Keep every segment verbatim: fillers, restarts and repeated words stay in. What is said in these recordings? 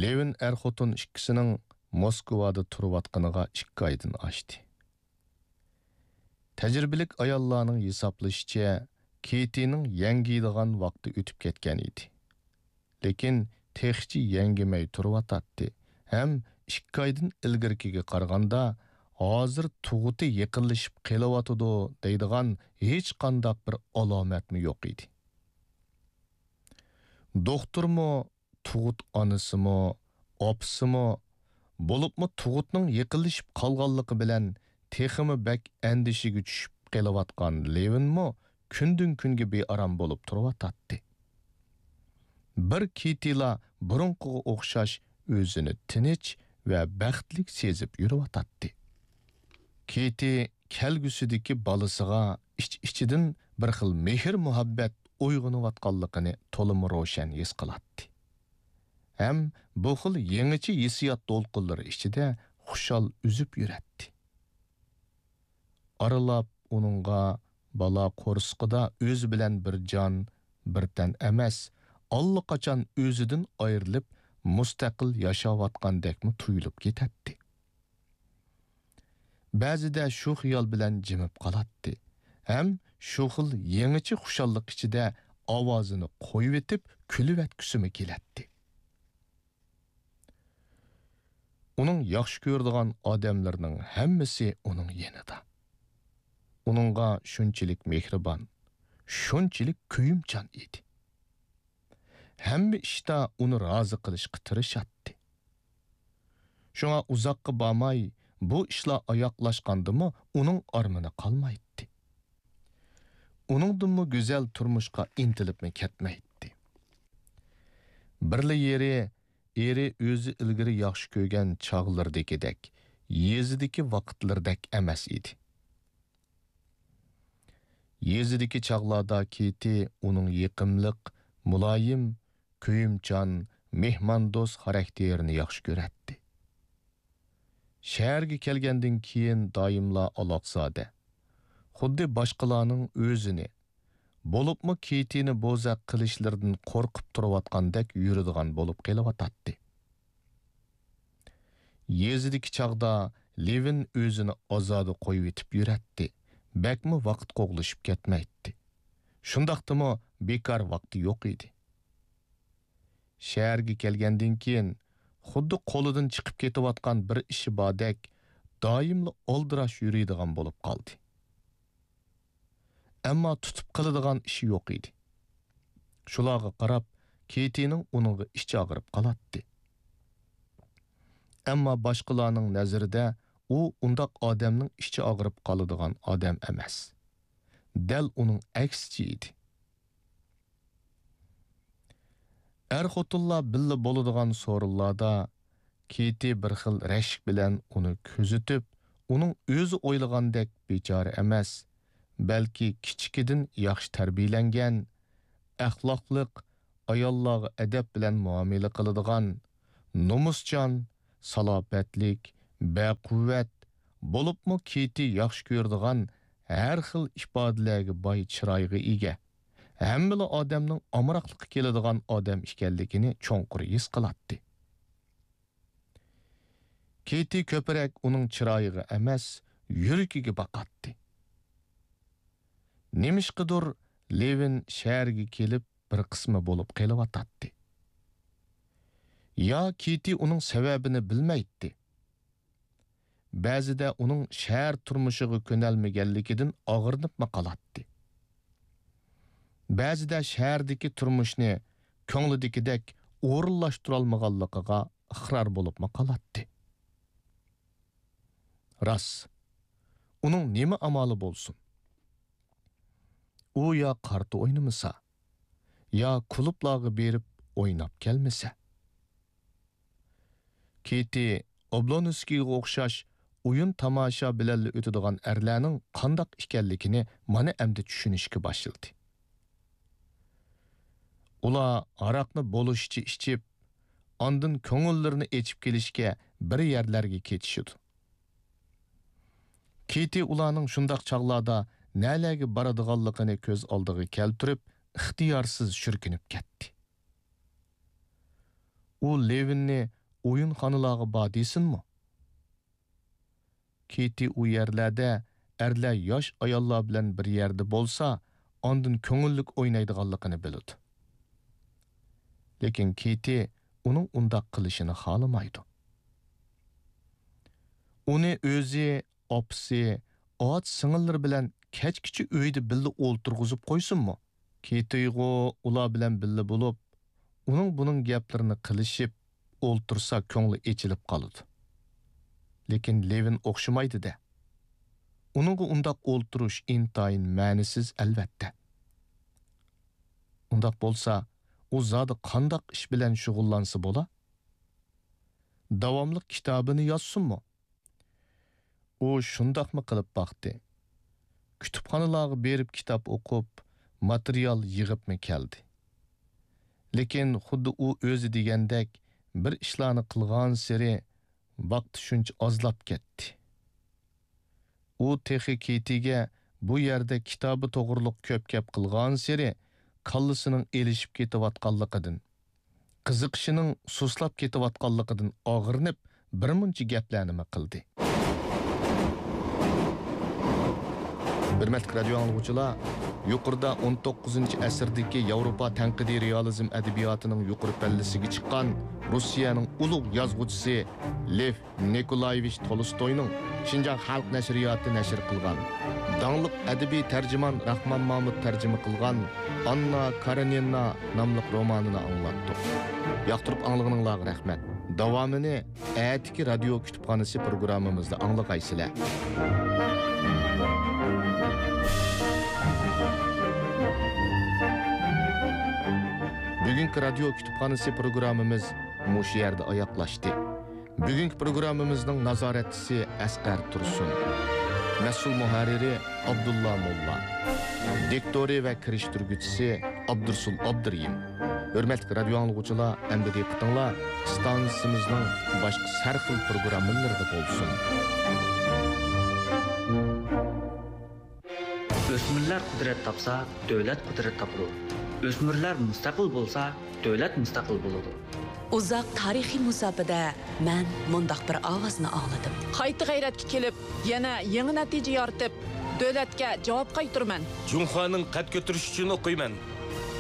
لېۋىن ئەر-خوتۇن ئىككىسىنىڭ موسكۋادا تۇرۇۋاتقىنىغا ئىككى ئايدىن ئاشتى. تەجرىبىلىك ئاياللارنىڭ ھېسابلىشىچە، كېتىنىڭ يەڭگىيدىغان ۋاقتى ئۆتۈپ كەتكەن ئىدى. لېكىن تېخىچە يەڭگىمەي تۇرۇۋاتاتتى ھەم ئىككى ئايدىن ئىلگىرىكىگە قارىغاندا، ھازىر تۇغۇتى يېقىنلىشىپ قېلىۋاتىدۇ دەيدىغان ھېچقانداق بىر ئالامەتمۇ يوق ئىدى. دوختۇرمۇ، تۇغۇت ئانىسىمۇ، ئاپىسىمۇ، بولۇپمۇ تۇغۇتنىڭ يېقىنلىشىپ قالغانلىقى بىلەن تېخىمۇ بەك ئەندىشىگە چۈشۈپ قېلىۋاتقان لېۋىنمۇ كۈندىن-كۈنگە بىئارام بولۇپ تۇرۇۋاتاتتى. بىر كېتىلا بۇرۇنقىغا ئوخشاش ئۆزىنى تىنچ ۋە بەختلىك سېزىپ يۈرۈۋاتاتتى. كېتى كەلگۈسىدىكى بالىسىغا ئىچ-ئىچىدىن بىر خىل مېھىر-مۇھەببەت ئويغىنىۋاتقانلىقىنى تولىمۇ روشەن ھېس قىلاتتى. ھەم بۇ خىل يېڭىچە ھېسسىيات دولقۇنلىرى ئىچىدە خۇشال ئۈزۈپ يۈرەتتى. ئارىلاپ ئۇنىڭغا بالا قورسىقىدا ئۆزى بىلەن بىر جان، بىر تەن ئەمەس، ئاللىقاچان ئۆزىدىن ئايرىلىپ، مۇستەقىل ياشاۋاتقاندەكمۇ تۇيۇلۇپ كېتەتتى. بەزىدە شۇ خىيال بىلەن جىمىپ قالاتتى ھەم شۇ خىل يېڭىچە خۇشاللىق ئىچىدە ئاۋازىنى قويۇۋېتىپ كۈلۈۋەتكۈسىمۇ كېلەتتى. ئۇنىڭ ياخشى كۆرىدىغان ئادەملىرىنىڭ ھەممىسى ئۇنىڭ يېنىدا. ئۇنىڭغا شۇنچىلىك مېھرىبان، شۇنچىلىك كۆيۈمچان ئىدى. ھەممە ئىشتا ئۇنى رازى قىلىشقا تىرىشاتتى. شۇڭا ئۇزاققا بارماي، بۇ ئىشلار ئاياغلاشقاندىمۇ ئۇنىڭ ئارمىنى قالمايتتى. ئۇنىڭدىنمۇ گۈزەل تۇرمۇشقا ئىنتىلىپمۇ كەتمەيتتى. بىرلا يېرى، ئېرى ئۆزى ئىلگىرى ياخشى كۆرگەن چاغلىرىدىكىدەك، يېزىدىكى ۋاقىتلىرىدەك ئەمەس ئىدى. يېزىدىكى چاغلاردا كېتى ئۇنىڭ يېقىملىق، مۇلايىم، كۆيۈمچان، مېھماندوست خاراكتېرىنى ياخشى كۆرەتتى. شەھەرگە كەلگەندىن كېيىن دائىملا ئالاقزادە، خۇددى باشقىلارنىڭ ئۆزىنى، بولۇپمۇ كېتىنى بوزەك قىلىشلىرىدىن قورقۇپ تۇرۇۋاتقاندەك يۈرىدىغان بولۇپ قېلىۋاتاتتى. يېزىدىكى چاغدا لېۋىن ئۆزىنى ئازادە قويۇۋېتىپ يۈرەتتى، بەكمۇ ۋاقىت قوغلىشىپ كەتمەيتتى. شۇنداقتىمۇ بىكار ۋاقتى يوق ئىدى. شەھەرگە كەلگەندىن كېيىن، خۇددى قولىدىن چىقىپ كېتىۋاتقان بىر ئىشى باردەك، دائىملا ئالدىراش يۈرىدىغان بولۇپ قالدى. ئەمما تۇتۇپ قىلىدىغان ئىشى يوق ئىدى. شۇلارغا قاراپ، كېتىنىڭ ئۇنىڭغا ئىچى ئاغرىپ قالاتتى. ئەمما باشقىلارنىڭ نەزىرىدە ئۇ ئۇنداق ئادەمنىڭ ئىچى ئاغرىپ قالىدىغان ئادەم ئەمەس. دەل ئۇنىڭ ئەكسىچە ئىدى. ئەر-خوتۇنلار بىللە بولىدىغان سورۇنلاردا كېتى بىر خىل رەشك بىلەن ئۇنى كۆزىتىپ، ئۇنىڭ ئۆزى ئويلىغاندەك بىچارە ئەمەس، بەلكى كىچىكىدىن ياخشى تەربىيەلەنگەن، ئەخلاقلىق، ئاياللارغا ئەدەپ بىلەن مۇئامىلە قىلىدىغان، نومۇسچان، سالاپەتلىك، بەقۇۋۋەت، بولۇپمۇ كېتى ياخشى كۆرىدىغان ھەر خىل ئىپادىلەرگە باي چىرايغا ئىگە، ھەممىلا ئادەمنىڭ ئامراقلىقى كېلىدىغان ئادەم ئىكەنلىكىنى چوڭقۇر ھېس قىلاتتى. كېتى كۆپرەك ئۇنىڭ چىرايىغا ئەمەس، يۈرىكىگە باقاتتى. نېمىشقىدۇر لېۋىن شەھەرگە كېلىپ بىر قىسمى بولۇپ قېلىۋاتاتتى. يا كېتى ئۇنىڭ سەۋەبىنى بىلمەيتتى. بەزىدە ئۇنىڭ شەھەر تۇرمۇشىغا كۆنەلمىگەنلىكىدىن ئاغرىنىپمۇ قالاتتى. بەزىدە شەھەردىكى تۇرمۇشنى كۆڭلىدىكىدەك ئورۇنلاشتۇرالمىغانلىقىغا ئىقرار بولۇپمۇ قالاتتى. راست، ئۇنىڭ نېمە ئامالى بولسۇن؟ ئۇ يا قارتا ئوينىمىسا، يا كۇلۇبلارغا بېرىپ ئويناپ كەلمىسە. كېتى ئوبلونسكىيغا ئوخشاش ئويۇن-تاماشا بىلەنلا ئۆتىدىغان ئەرلەرنىڭ قانداق ئىكەنلىكىنى مانا ئەمدى چۈشىنىشكە باشلىدى. ئۇلار ھاراقنى بولۇشىچە ئىچىپ، ئاندىن كۆڭۈللىرىنى ئېچىپ كېلىشكە بىر يەرلەرگە كېتىشىدۇ. كېتى ئۇلارنىڭ شۇنداق چاغلاردا نەلەرگە بارىدىغانلىقىنى كۆز ئالدىغا كەلتۈرۈپ، ئىختىيارسىز شۈركۈنۈپ كەتتى. ئۇ لېۋىننى ئويۇنخانىلارغا بار دېسۇنمۇ؟ كېتى ئۇ يەرلەردە ئەرلەر ياش ئاياللار بىلەن بىر يەردە بولسا، ئاندىن كۆڭۈللۈك ئوينايدىغانلىقىنى بىلىدۇ. لېكىن كېتى ئۇنىڭ ئۇنداق قىلىشىنى خالىمايدۇ. ئۇنى ئۆزى، ئاپىسى، ئاچا سىڭىللىرى بىلەن كەچكىچە ئۆيدە بىللە ئولتۇرغۇزۇپ قويسۇنمۇ؟ كېتىغۇ ئۇلار بىلەن بىللە بولۇپ، ئۇنىڭ بۇنىڭ گەپلىرىنى قىلىشىپ ئولتۇرسا كۆڭلى ئېچىلىپ قالىدۇ. لېكىن لېۋىن ئوخشىمايدۇ-دە. ئۇنىڭغا ئۇنداق ئولتۇرۇش ئىنتايىن مەنىسىز ئەلۋەتتە. ئۇنداق بولسا، ئۇ زادى قانداق ئىش بىلەن شۇغۇللانسا بولا؟ داۋاملىق كىتابىنى يازسۇنمۇ؟ ئۇ شۇنداقمۇ قىلىپ باقتى. كۇتۇپخانىلارغا بېرىپ كىتاب ئوقۇپ، ماتېرىيال يىغىپمۇ كەلدى. لېكىن خۇددى ئۇ ئۆزى دېگەندەك بىر ئىشلارنى قىلغانسېرى ۋاقتى شۇنچە ئازلاپ كەتتى. ئۇ تېخى كېتىگە بۇ يەردە كىتابى توغرۇلۇق كۆپ گەپ قىلغانسېرى كاللىسىنىڭ ئېلىشىپ كېتىۋاتقانلىقىدىن، قىزىقىشىنىڭ سۇسلاپ كېتىۋاتقانلىقىدىن ئاغرىنىپ، بىرمۇنچە گەپلەرنىمۇ قىلدى. ھۆرمەتلىك رادىيو ئاڭلىغۇچىلار، يۇقىرىدا ئون توققۇزىنچى ئەسىردىكى ياۋروپا تەنقىدىي رېئالىزم ئەدەبىياتىنىڭ يۇقىرى پەللىسىگە چىققان روسىيەنىڭ ئۇلۇغ يازغۇچىسى لېف نىكولايېۋىچ تولستوينىڭ شىنجاڭ خەلق نەشرىياتى نەشر قىلغان، داڭلىق ئەدەبىي تەرجىمان راخمان مامۇت تەرجىمە قىلغان ئاننا كارېنىنا ناملىق رومانىنى ئاڭلاتتۇق. ياقتۇرۇپ ئاڭلىغىنىڭلارغا رەھمەت. داۋامىنى ئەتىكى رادىيو كۇتۇپخانىسى پروگراممىمىزدا ئاڭلىغايسىلەر. بۈگۈنكى رادىيو كۇتۇپخانىسى پروگراممىمىز مۇشۇ يەردە ئاياغلاشتى. بۈگۈنكى پروگراممىمىزنىڭ نازارەتچىسى ئەسقەر تۇرسۇن. مەسئۇل مۇھەررىرى ئابدۇللا موللا. دىكتورى ۋە كىرىشتۈرگۈچىسى ئابدۇرسۇل ئابدۇرېھىم. ھۆرمەتلىك رادىيو ئاڭلىغۇچىلار، ئەمدى دىققىتىڭلار ئىستانسىمىزنىڭ باشقا سەرخىل پروگراممىلىرىدا بولسۇن. ئۆسمۈرلەر قۇدرەت تاپسا، دۆلەت قۇدرەت تاپىدۇ. ئۆسمۈرلەر مۇستەقىل بولسا، دۆلەت مۇستەقىل بولىدۇ. ئۇزاق تارىخىي مۇساپىدە مەن مۇنداق بىر ئاۋازنى ئاڭلىدىم. قايتا غەيرەتكە كېلىپ، يەنە يېڭى نەتىجە يارىتىپ، دۆلەتكە جاۋاب قايتۇرىمەن. جۇڭخۇانىڭ قەد كۆتۈرۈشى ئۈچۈن ئوقۇيمەن.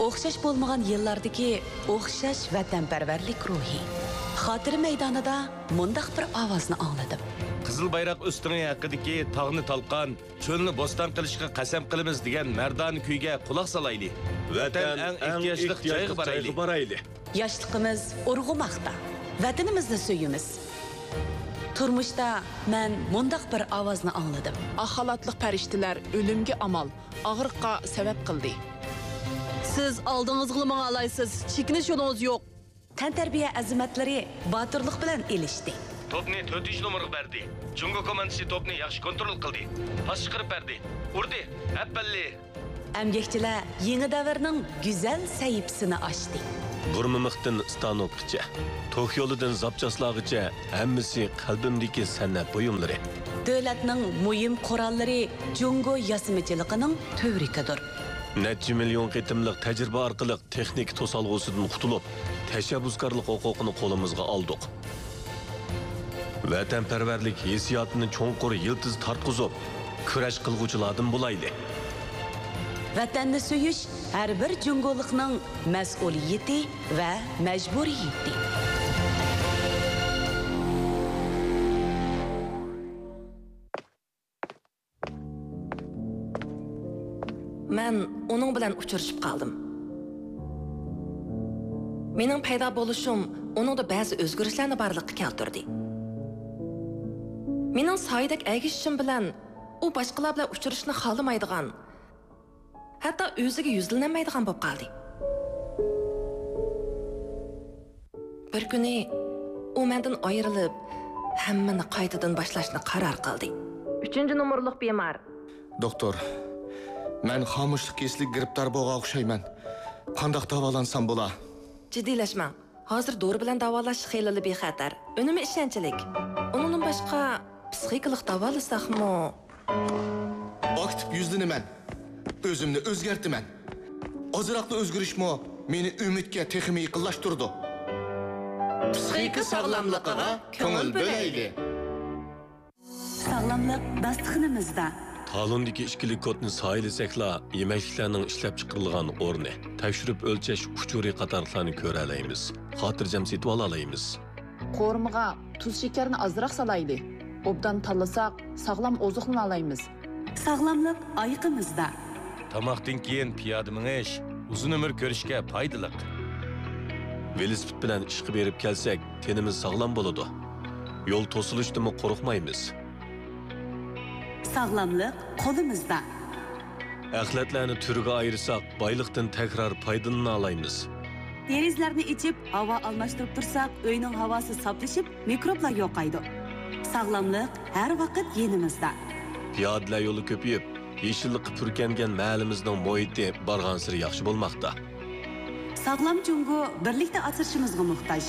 ئوخشاش بولمىغان يىللاردىكى ئوخشاش ۋەتەنپەرۋەرلىك روھى. خاتىرە مەيدانىدا مۇنداق بىر ئاۋازنى ئاڭلىدىم. قىزىل بايراق ئۆستىڭى ھەققىدىكى تاغنى تالقان، چۆلنى بوستان قىلىشقا قەسەم قىلىمىز دېگەن مەردانە كۈيگە قۇلاق سالايلى. ۋەتەن ئەڭ ئېھتىياجلىق جايغا بارايلى. ياشلىقىمىز ئۇرغۇماقتا. ۋەتىنىمىزنى سۆيىمىز. تۇرمۇشتا مەن مۇنداق بىر ئاۋازنى ئاڭلىدىم. ئاق خالاتلىق پەرىشتىلەر ئۆلۈمگە ئامال، ئاغرىققا سەۋەب قىلدى. سىز ئالدىڭىزغىلا ماڭالايسىز، چېكىنىش يولىڭىز يوق. تەنتەربىيە ئەزىمەتلىرى باتۇرلۇق بىلەن ئېلىشتى. توپنى تۆتىنچى نومۇرغا بەردى. جۇڭگو كوماندىسى توپنى ياخشى كونترول قىلدى. پاس چىقىرىپ بەردى. ئۇردى. ئەپەللى! ئەمگەكچىلەر يېڭى دەۋرنىڭ گۈزەل سەھىپىسىنى ئاچتى. بۇرمىمىقتىن ستانوكقىچە، توك يولىدىن زاپچاسلارغىچە ھەممىسى قەلبىمدىكى سەنئەت بۇيۇملىرى. دۆلەتنىڭ مۇھىم قوراللىرى جۇڭگو ياسىمىچىلىقىنىڭ تۈۋرۈكىدۇر. نەچچە مىليون قېتىملىق تەجرىبە ئارقىلىق تېخنىكا توسالغۇسىدىن قۇتۇلۇپ، تەشەببۇسكارلىق ھوقۇقىنى قولىمىزغا ئالدۇق. ۋەتەنپەرۋەرلىك ھېسسىياتىنى چوڭقۇر يىلتىز تارتقۇزۇپ، كۈرەش قىلغۇچىلاردىن بولايلى. ۋەتەننى سۆيۈش ھەر بىر جۇڭگولۇقنىڭ مەسئۇلىيىتى ۋە مەجبۇرىيىتى. مەن ئۇنىڭ بىلەن ئۇچرىشىپ قالدىم. مېنىڭ پەيدا بولۇشۇم ئۇنىڭدا بەزى ئۆزگىرىشلەرنى بارلىققا كەلتۈردى. مېنىڭ سايىدەك ئەگىشىشىم بىلەن ئۇ باشقىلار بىلەن ئۇچرىشىشنى خالىمايدىغان، ھەتتا ئۆزىگە يۈزلىنەلمەيدىغان بولۇپ قالدى. بىر كۈنى ئۇ مەندىن ئايرىلىپ، ھەممىنى قايتىدىن باشلاشنى قارار قىلدى. ئۈچىنچى نومۇرلۇق بىمار. دوختۇر، مەن خامۇشلۇق كېسىلىگە گىرىپتار بولغان ئوخشايمەن. قانداق داۋالانسام بولا؟ جىددىيلەشمەڭ. ھازىر دورا بىلەن داۋالاش خېلىلا بىخەتەر. ئۈنۈمى ئىشەنچلىك. ئۇنىڭدىن باشقا، پسىخىكىلىق داۋالىساقمۇ؟ ئاكتىپ يۈزلىنىمەن. ئۆزۈمنى ئۆزگەرتىمەن. ئازراقلا ئۆزگىرىشمۇ مېنى ئۈمىدكە تېخىمۇ يېقىنلاشتۇرىدۇ. پىسخىكا ساغلاملىقىغا كۆڭۈل بۆلەيلى. ساغلاملىق داستىخىنىمىزدا. تالوندىكى ئىككىلىك كودنى سايىلىسەكلا، يېمەكلىكلەرنىڭ ئىشلەپچىقىرىلغان ئورنى، تەكشۈرۈپ ئۆلچەش ئۇچۇرى قاتارلىقلارنى كۆرەلەيمىز، خاتىرجەم سېتىۋالالايمىز. قورۇمىغا تۇز شېكەرنى ئازراق سالايلى. ئوبدان تاللىساق، ساغلام ئوزۇقلىنالايمىز. ساغلاملىق ئايىقىمىزدا. تاماقتىن كېيىن پىيادە مېڭىش ئۇزۇن ئۆمۈر كۆرۈشكە پايدىلىق. ۋېلىسىپىت بىلەن ئىشقا بېرىپ كەلسەك، تېنىمىز ساغلام بولىدۇ. يول توسۇلۇشتىنمۇ قورقمايمىز. ساغلاملىق قولىمىزدا. ئەخلەتلەرنى تۈرگە ئايرىساق، بايلىقتىن تەكرار پايدىلىنالايمىز. دېرىزىلەرنى ئېچىپ، ھاۋا ئالماشتۇرۇپ تۇرساق، ئۆينىڭ ھاۋاسى ساپلىشىپ، مىكروبلار يوقايدۇ. ساغلاملىق ھەر ۋاقىت يېنىمىزدا. پىيادىلەر يولى كۆپىيىپ، يېشىللىققا پۈركەنگەن مەھەللىمىزنىڭ مۇھىتى بارغانسېرى ياخشى بولماقتا. ساغلام جۇڭگو بىرلىكتە ئاسرىشىمىزغا موھتاج.